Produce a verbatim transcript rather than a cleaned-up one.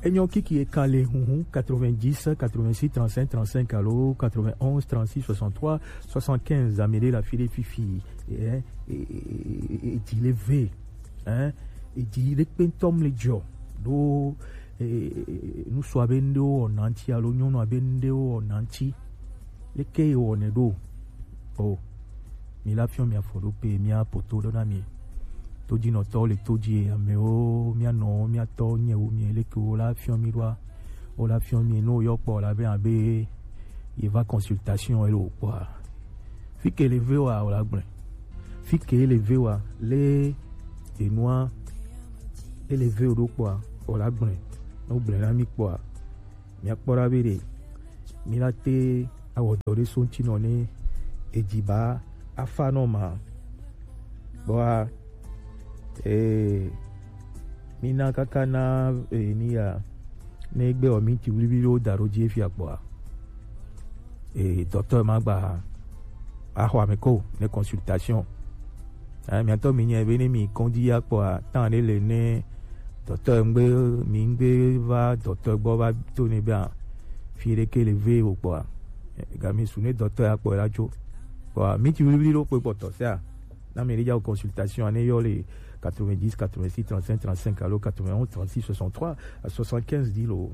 Enyo kiki e kale huhu quatre-vingt-dix quatre-vingt-six trente-cinq trente-cinq alo quatre-vingt-onze trente-six soixante-trois soixante-quinze amele la file fifi. Eh, eh, eh, eh, eh, di le ve. Hein? E di le kpentom le dio. Do, eh, eh, eh, nu so abe nde o nanti alo nyono abe nde o nanti. Leke e o ne do. Oh. Mi la fiɔ mi afɔ ɖo pe mi apoto ɖo na mi. Todinɔtɔ le todi e amewo mia nɔ mia tɔ nye wo mi leke wo la fiɔ mi ɖoa. Wo la fiɔ mi no yɔ kpɔ la be abe ye va consultation elo kpɔa. Fi ke le ve wa o la gblẽ. Fi ke le ve wa le enua ele ve o ɖo kpɔa o la gblẽ. No gblẽ na mi kpɔa. Míakpɔ ɖa be ɖe mílate awɔ dɔ ɖe so ŋuti nɔ ne edzi ba afa nɔ ma. Bɔa, ee, mina kaka na, ee, ni ya ne gbe wɔ minti wliwli ɖewo da ɖo dzi efia kpɔa, ee, dɔtɔ ma gba axɔ ame ko ne consultation. Eh, miatɔ mi nya be ne mi kɔdzi ya kpɔa, tan ɖe le ne dɔtɔ ŋgbe mi ŋgbe va dɔtɔ gbɔ va to ne be a fi ɖe ke le ve o kpɔa, eh, ga mi su ne dɔtɔ ya kpɔ la tso kpɔa mi ti wliwli ɖo kpe kpɔtɔ sia na mi ɖe dza consultation ne yɔ le quatre-vingt-dix quatre-vingt-six trente-cinq trente-cinq alo quatre-vingt-onze trente-six soixante-trois à soixante-quinze di lo.